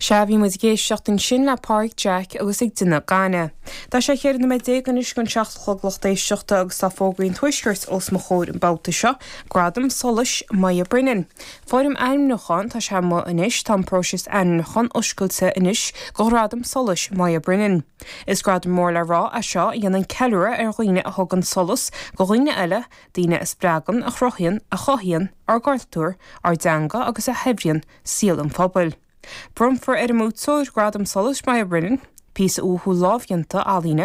Sea, bhí muid ag éisteacht ansin le Páraic Jack agus ag déanamh gainimh. Tá sé 14 nóiméad anois chun 7 a chlog lucht éisteachta agus tá fógraí an Tuaiscirt os mo chomhair an babhta seo, Gradam Solais Moya Brennan. Foirm ainmniúcháin, tá sé amuigh anois, tá an próiseas ainmniúcháin oscailte anois do Ghradam Solais Moya Brennan. Is gradam mór le rá é seo a dhéanann ceiliúradh ar dhaoine a thugann solas do dhaoine eile, daoine a spreagann, a chruthaíonn, a chothaíonn ár gcultúr, ár dteanga agus a shaibhríonn saol an phobail. Bronnfar ar an mbuaiteoir Gradam Solais Moya Brennan, píosa uathúil lámhdhéanta ealaíne.